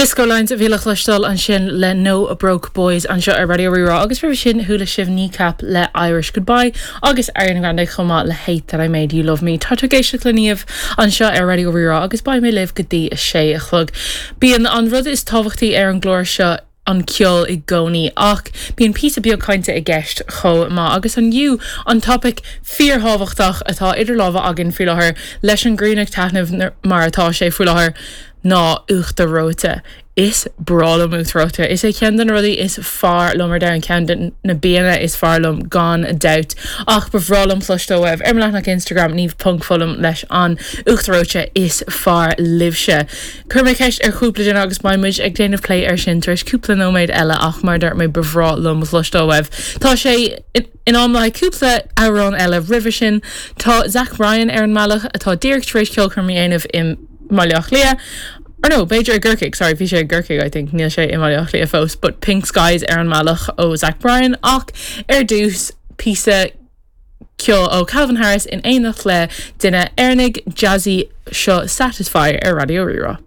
Disco Lines a bhí le cloisteáil ansin le No Broke Boys anseo ar Raidió Rí-Rá agus roimhe sin chuala sibh Kneecap le Irish Goodbye agus Ariana Grande chomh maith le Hate That I Made You Love Me. Tá tú ag éisteacht le Niamh anseo ar Raidió Rí-Rá agus beidh mé libh go dtí a sé a chlog. Bíonn an rud is tábhachtaí ar an gclár seo an ceol i gcónaí ach bíonn píosa beag cainte i gceist chomh maith agus inniu an topaic fíorthábhachtach atá idir lámha againn faoi láthair leis an ghrian ag taitneamh mar atá sé faoi láthair ná uachtar reoite. Is breá liom uachtar reoite. Is é ceann de na rudaí is fearr liom ar domhan, ceann de na bianna is fearr liom gan dabht. Ach ba bhreá liom cloisteáil uaibh ar mo leathanach Instagram niamh ponc foghlaim leis an uachtar reoite is fearr libhse. Chuir mé ceist ar chúpla duine agus beidh muid ag déanamh plé air sin tar éis cúpla nóiméad eile ach mar a dúirt mé ba bhreá liom cloisteáil uaibh. Tá sé in am le haghaidh cúpla amhrán eile roimhe sin. Tá Zach Bryan ar an mbealach atá díreach tar éis ceolchoirm a dhéanamh i mBaile Átha Cliath. Or no, b'fhéidir i gCorcaigh, sorry, bhí sé i gCorcaigh I think, níl sé i mBaile Átha Cliath fós, but Pink Skies ar an mbealach ó Zach Bryan ach ar dtús píosa ceoil ó Calvin Harris in éineacht le duine Éireannaigh, Jazzy, seo Satisfy ar Raidió Rí-Rá.